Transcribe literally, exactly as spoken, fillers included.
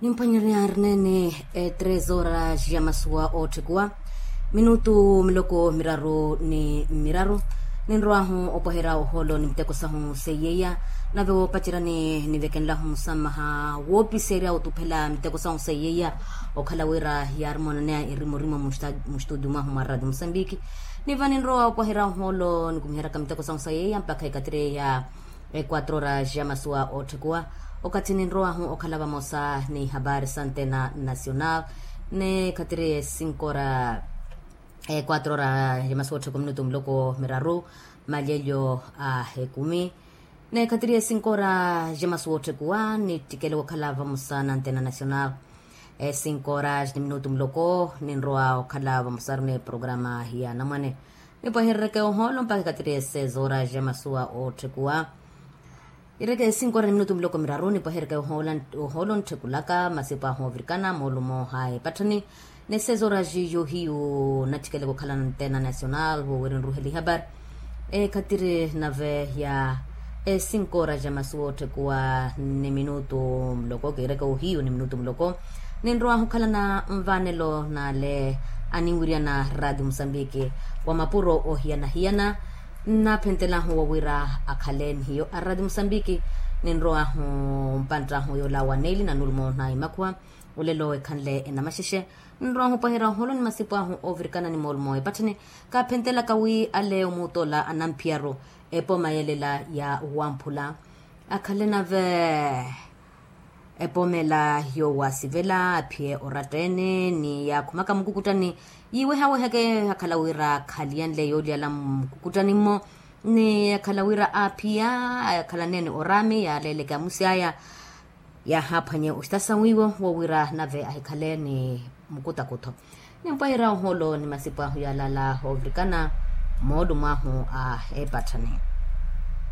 Nimphwanyerya arnene. Tres horas ya masuwa ootthekuwa minutu miloko miraru ni miraru. Ninrow'ahu opweherya ohoolo ni miteko sahu seiyeiya. Nave woopaceryani nivekenlahu musamaha woopiserya otuphela miteko sahu seiyeiya, okhala wira yaari moonaneya erimorimo mustudio mwahu mwa radio musambiki. Niva ninrowa opweherya ohoolo nikumiheryaka miteko sahu seiyeiya mpakha ikatiri ya equatro horas ya masuwa ootthekuwa. Okathi ninrowahu okhala vamosa ni habari sa antena nacional, ni khatiri esinko ra equatro horas ya masuwa ootthekuwa minutu miloko miraru, malyelyo a ekumi. Ni khatiri esinko ra ya masuwa ootthekuwa nittikele wokhala vamosa na antena nacional. Esinko ra ni minutu miloko ninrowa okhala vamosaru ni programa ya anamwane. Nipwehereryeke ohoolo mpakha ikatiri esezo ra ya masuwa ootthekuwa. Ireke esinko ra ni minutu miloko miraru nipwehereryeke ohoolo ntthekulaka masipo ahu ovirikana moolumo ha epatthani. Nesezo ra jiyo hiyu nattikeleke okhala na antena nacional woowirinruhela ihapari. Ekhatiri nave ya esinko ra ya masuwa ootthekuwa ni minutu muloko kiireke ohiyu ni minutu muloko. Ninrowahu okhala na nvaanelo n'ale aninwiryana radio musambiki wa mapuro ohiyana-hiyana. Nnaaphentelahu wowira akhale ni hiyo a radio musambiki. Ninrowahu mpanttahu yoola wa neeli na nulumo na imakhuwa. Olelo ekhanle enamaxexe. Nrowahu opweherya ohoolo ni masipo ahu oovirikana ni moolumo epatthani. Kaaphentelaka wi ale omuutola anamphiyaru epoma yelela ya wamphula akhale nave epoma ela yoowasivela aphiye oratta-ene ni yaakhumaka mukukuttani. Yiiwehaweheke akhala wira khaliyanle yooliyala mukukuttani-mo ni akhala wira aaphiya akhala neene oraami yaaleeleke amusi aya. Yaahaaphwanye ostasa wiiwo wowira nave ahikhale ni mukutakutho. Nimpweherya ohoolo ni masipo ahu yaalaala oovirikana moolumo ahu a epatthani.